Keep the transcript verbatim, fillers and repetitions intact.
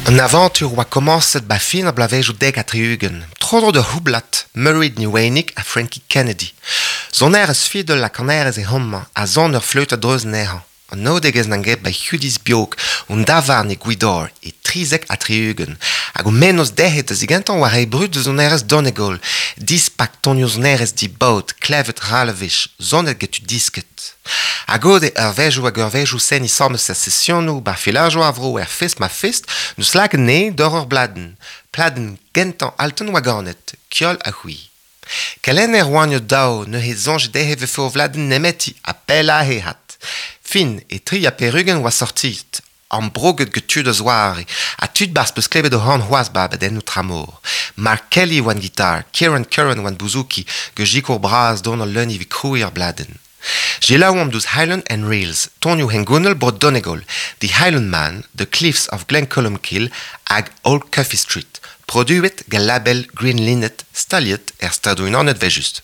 An avantur oa komañset ba fin ar bloavezhioù dek ha tri-ugent. Tro-dro d'ur c'houblad, Mairéad Ní Mhaonaigh ha Frankie Kennedy. Sonerezh fiddle ha kanerezh eo homañ, ha son ur fleüt a-dreuz anezhañ. An naodegezh n'an get ba Hudi's Biog, un davarn e Gwidor, e trizek ha tri-ugent. Hag o mennozh dezhe da zigentañ war reiñ brud da sonerezh Donegal, dispak tonioù sonerezh dibaot, klevet ral a wech, sonet get tud disket. Hag goude eurvezhioù hag eurvezhioù seniñ 'sames er sesionoù bar filajoù a vro er fest-ma-fest, n'eus lakaet anezhe d'ober ur bladenn. Pladenn gentañ Altan oa ganet, Ceol ha C'hwi. Kelenner oant o-daou neuze soñj dezhe 'vefe o vladenn nemeti ha pellañ he hat. Fin, e tri ha pevar-ugent oa sortiet, ambrouget get tud a-zoare, ha tud 'barzh peus klevet o c'horn c'hoazh 'ba abadennoù tramor. Mark Kelly oan gitar, Kieran Curran oan bouzouki, get sikour bras Donal Lunny evit krouiñ ar bladenn. Selaouomp deus Highland and Reels, tonioù hengounel bro Donegal, The Highland Man, The Cliffs of Glencolmcille hag Old Cuffy Street, produet gant label Green Linnet, staliet er Stadoù-Unanet 'vel-just.